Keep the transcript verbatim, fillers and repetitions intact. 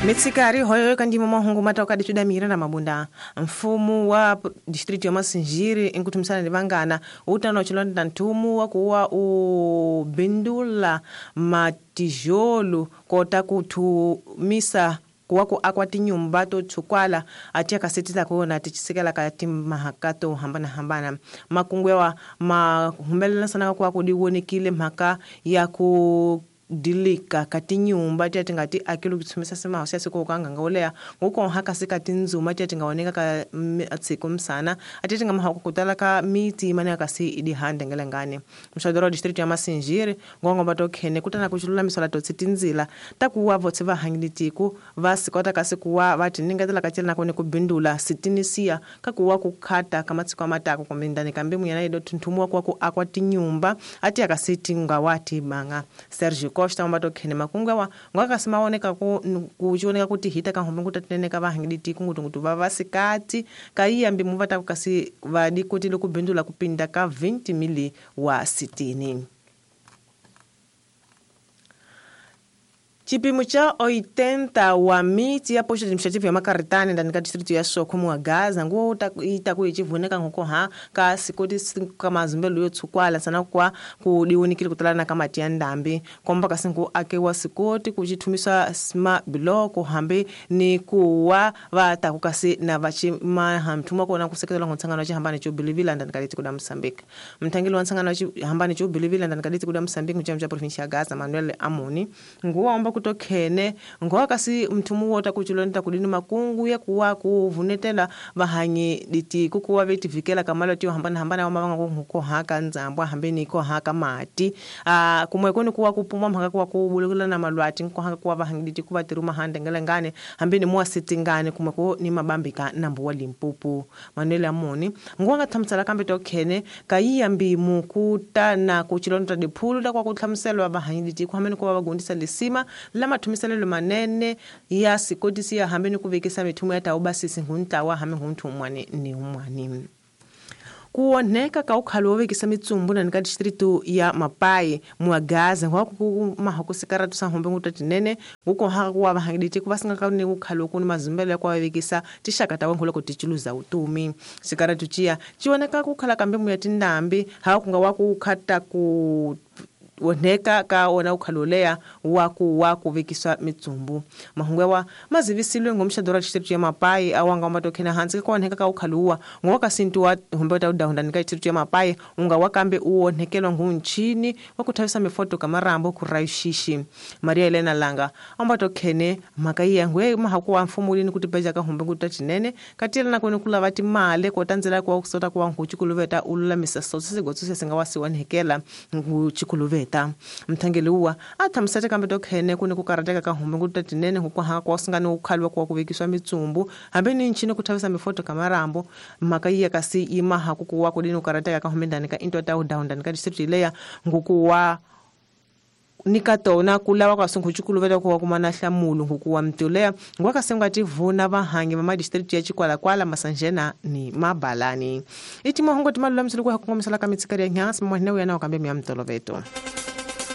Mitsikari hoyo kandimo mahungu matoka dichudamira na mabunda mfumo wa district ya Masinjiri inkutumisana ni utano chilonda ntumu wa kuwa ubindula matijolo kota kutumisa kuwako akwati nyumba to chukwala atia kaseti za kuona tichisekela kati mahakato hambana hambana makungwewa mahumbelana sana kwa kudiwonekile mhaka ya ku dilika kati nyumba tia tingati akilu kutsumisa sema hosi siko kanga ngolea nguko haka sika tinzuma tia tingaoneka ka atsiko msana ati tinga mahako kutala ka miti imane akasi idi hande ngelengane mshadoro district ya Masinjiri ngongo batokhene kutana kuchulula misola totsi tinzila takuwa votse va hangilitiku vasikota kasi kuwa vati ningatela kachela nakone kubindula sitinisia kakuwa kukhata kamatsiko amatako komindani kambi muyana ido tuntumwa kwa ku akwati nyumba ati akasiti ngawati banga Sergio Costa mbatokene makungawa ngwakasimaoneka ku kuchioneka kuti hita kahombe kutateneka vahangiditi kungutungutu vavasikati kaiyambi muvata kukasi vadi kuti lokubindula kupinda ka vinte mili wa sitini. Chipimo cha oitenta wa miti ya posto administrativo ya Macaritane ndani ka distrito ya Soco wa Gaza nguo itaku ichivuneka ngoko ha ka sikoti kama zumbelo yotsukwala sana kwa kudiwonikile kutalana kama tia ndambi komba kasingu ake wa sikoti kuchitumisa sma biloko hambe ni kuwa vatakukasi na vachima hamtuma kona kusekela ngotsangano chihambane cho Bilivila ndani ka distrito ya Mozambique mtangili wa nsangano chihambane cho Bilivila ndani ka distrito ya Mozambique mchama cha provincia ya Gaza Manuel Amoni nguo omba kutokhene ngoa kasi mthumu wota kuchilonda kudini makungu ya kuwa kuvunetela vahanyi diti kukuwa vetivikela kamalo tiyo hambana hambana wamavanga kuko haka nzambwa hambeni ko haka mati a kumwe koni kuwa kupuma mhaka kuwa kubulukula na malwati nko haka kuwa vahanyi diti kuva tiruma hande ngelengane hambeni muwa sitingane kumwe ko ni mabambika nambu wa Limpopo Manuel Amoni ngoa ngathamsala kambe tokhene kayiyambi mukuta na kuchilonda diphulu la kwa kutlhamselwa vahanyi diti kuhambeni kuwa vagundisa lisima la mathumiselelo manene ya sikotisi ya hambeni kuvekisa mithumo ya taubasisi nguntlawa hambi ngunthu umwani ni umwani kuoneka ka ukhalo wovekisa mitsumbu nani ka distrito ya Mapai muagaza ngwakumahakusikaratu sa hombe ngutatinene ngukohaka kuwa vahangiditi kuvasinga ni ukhalo kuni mazumbelo ya kuwavekisa tixaka ta wenkholo ku tichiluza utumi sikaratu chiya chioneka kukhala kambe muya tindambi hakunga wakukhata ku woneka ka ona ukhalolea waku waku vekiswa mitsumbu mahungwewa mazivisilwe ngomshadora district ya Mapai awanga matokhena hansi ka oneka ka ukhaluwa ngoka sintu wa hombeta udahunda nika district ya Mapai unga wakambe uonekelwa ngunchini wakuthavisa mifoto kamarambo kuraishishi Maria Elena Langa ambatokhene makaiya ngwe mahakuwa mfumulini kuti beja ka hombe ngutatinene katila na kone kula vati male kotanzela kwa kusota kwa nkuchikuluveta ululamisa sotse sigotso singawasiwanhekela nkuchikuluveta mthangeliwa athamsete kambe tokhene kuni kukarateka ka hombe ngutatinene hukuhaka kwasingani ukhalwa kwa kuvekiswa mitsumbu hambe ni nchini kuthavisa mifoto kamarambo makaiya kasi imaha kukuwa kudini kukarateka ka hombe ndani ka into ta udahunda ka district leya ngukuwa nikatona kulawa kwa sunkuchukuluveta kuwa kumana hlamulu ngukuwa mtulea ngwakasenga tivuna vahangi va madistrict ya Chikwalakwala Masanjena ni Mabalani iti mahungo timalula msulu kwa kukomisala ka mitsikari ya nyasi mwahina uyana wakambe mya mtoloveto.